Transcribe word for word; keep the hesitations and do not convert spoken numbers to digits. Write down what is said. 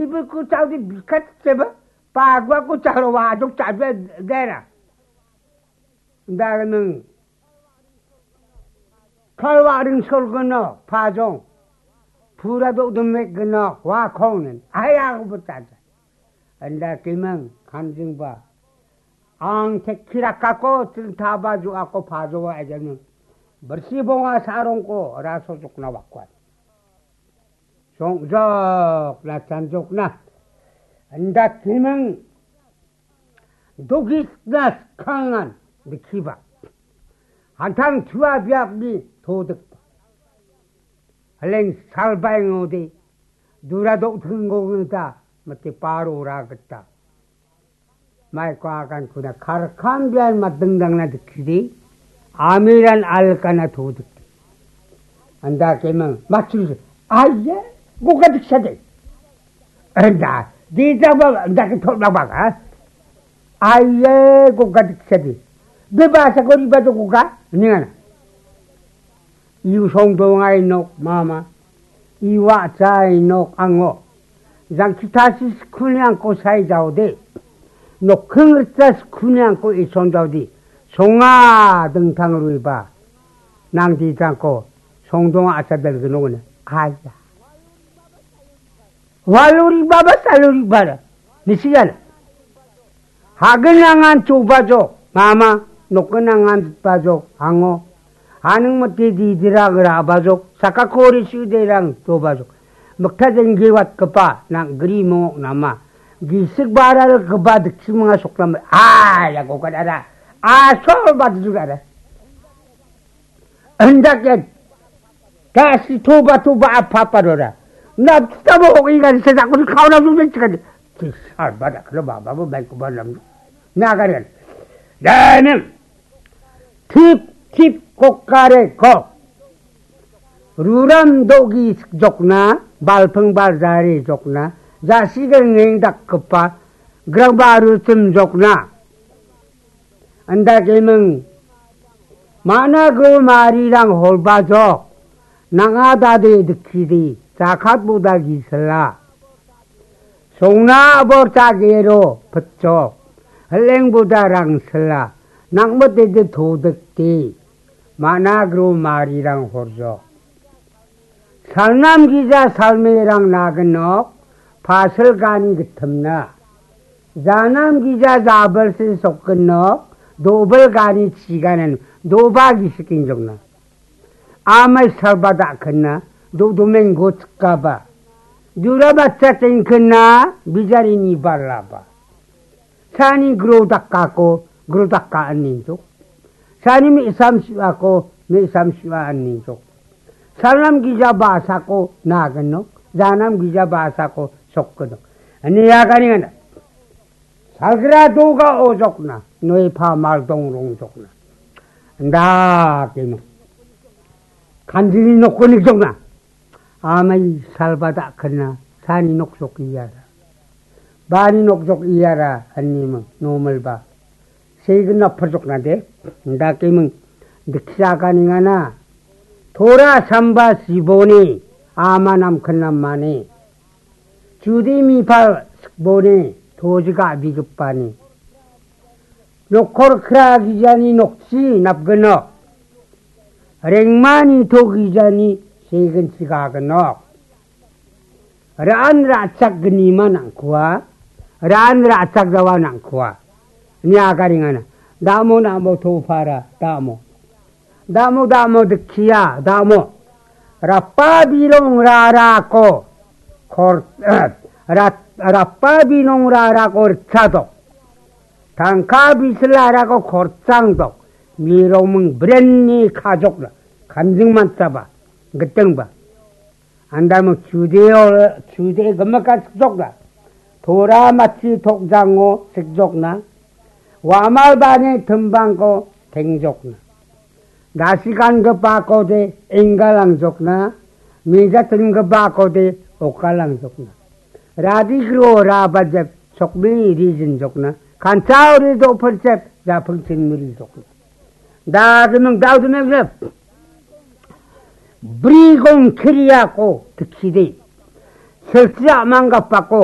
Ibu ku cau di bikat ceba. Pagua ku cau wa duk cau dera. Daganang. Kalwa ring sol geno pajong. Pura duk demek geno wa kong nen. Aya ku bertanya. Anda kimang kanjing ba. Ang tekira kako trinta baju ako pajo wa aja ni. Bersih bonga sarong ko raso jokna wakuan. Songjok na chanjok na. Anda kimang dogis na kangan dikiba. Hantang tua biak ni todik. Haleng salbai ngode. Dura dok tenggo ngeta mati paro ra geta. Mai ko akan kuna karkan bian madengdang na dikidi. Amiran alkana to dikidi. Anda kemang machu. Aye, goga diksa de. Anda, di jaba anda ke thot baba ka. Aye, goga diksa de. Beba sakori ba to goga. Ningana. Iu songdongai nok mama. Iwa chai nok ango. Jangkitasi skuni angko sai jaode. Nokhing rcha skuni angko ison jaode. Songa dengtang ruiba. Nang di jangko songdong asa delgeno ne. Aya. Waluri baba saluri bara. Nisigan. Hagenangan chubajok. Mama, nokenangan bajok. Hango. Haning mati didirang rabajok. Sakakori siderang chubajok. Mekta jenggewat kepa. Nang geri mongok nama. Gisik baral keba diksimanga soklam. Ah, ya gokan ada. Asol batu juga ada. Hendak ya. Kasi toba toba apa apa dora. Na kita mau ingat saya takut kau nak duduk sekali. Kisah badak kena baba mau baik ke malam. Nah kan. Jangan. Tip tip kokare kok. Ruram dogi jokna, balpeng baljari jokna, jasiga ngeng dakkepa, grang baru cem jokna. Anda kemeng. Mana gro marirang holbajok. Nanga dade dikidi. Jakat boda gisela. Songna bor chagero pecok. Heleng boda rangsela. Nangmet dede todekti. Mana gro marirang horjok. Salnam gija salmerang nagenok, pasil gani getemna. Janam gija jabelsi sokgenok, dobel gani chiganen, doba gisikin jokna. Amai salba dakena, do domeng gotskaba. Dura bacha tengkena, bijarini balaba. Sani gro dakako, gro daka aninjok. Sani mi isam siwako, mi isam siwa aninjok. Salam gija basako nagenok, janam gija basako sokgenok. Ani ya kani ngana. Salgra doga ojokna, noi pa maldong rong jokna. Nda kino. Kanjini nokko nik jokna. Amai salba dakena, sani nok sok iyara. Bani nok jok iyara, ani meng, normal ba. Seigin na perjok na de, ndake meng, diksa kani ngana. Tora samba siboni, ama nam kena mane. Judi mipal sikboni, tojiga bigipani. Nokor kra gijani nokchi napgenok. Rengmani to gijani segin sigagenok. Ra·an ra·chak gnima nang·kua. Ra·an ra·chak jawa nang·kua. Nia garingana. Damo, damo topara, damo. Damo, damo dikkia, damo. Rapa birong rarako kor-, eh, rat-, rapa birong rarako ritchadok. Tangka bisil arako korchangdok. Mirongming brenni kajokna. Kanjing mansaba. Gitengba. Andamo chudeo, chude gimika sikjokna. Tora matchi tokjango sikjokna. Wamal bani timbangko tengjokna. Dasigangipakode enggalangjokna. Mijatingipakode okalangjokna. Radigro rabajep sokbini rijinjokna. Kanchao rido perchep japingchin mirijokna. Dagiming daudiming lep. Brigong kiriako tikside. Silsia manggapako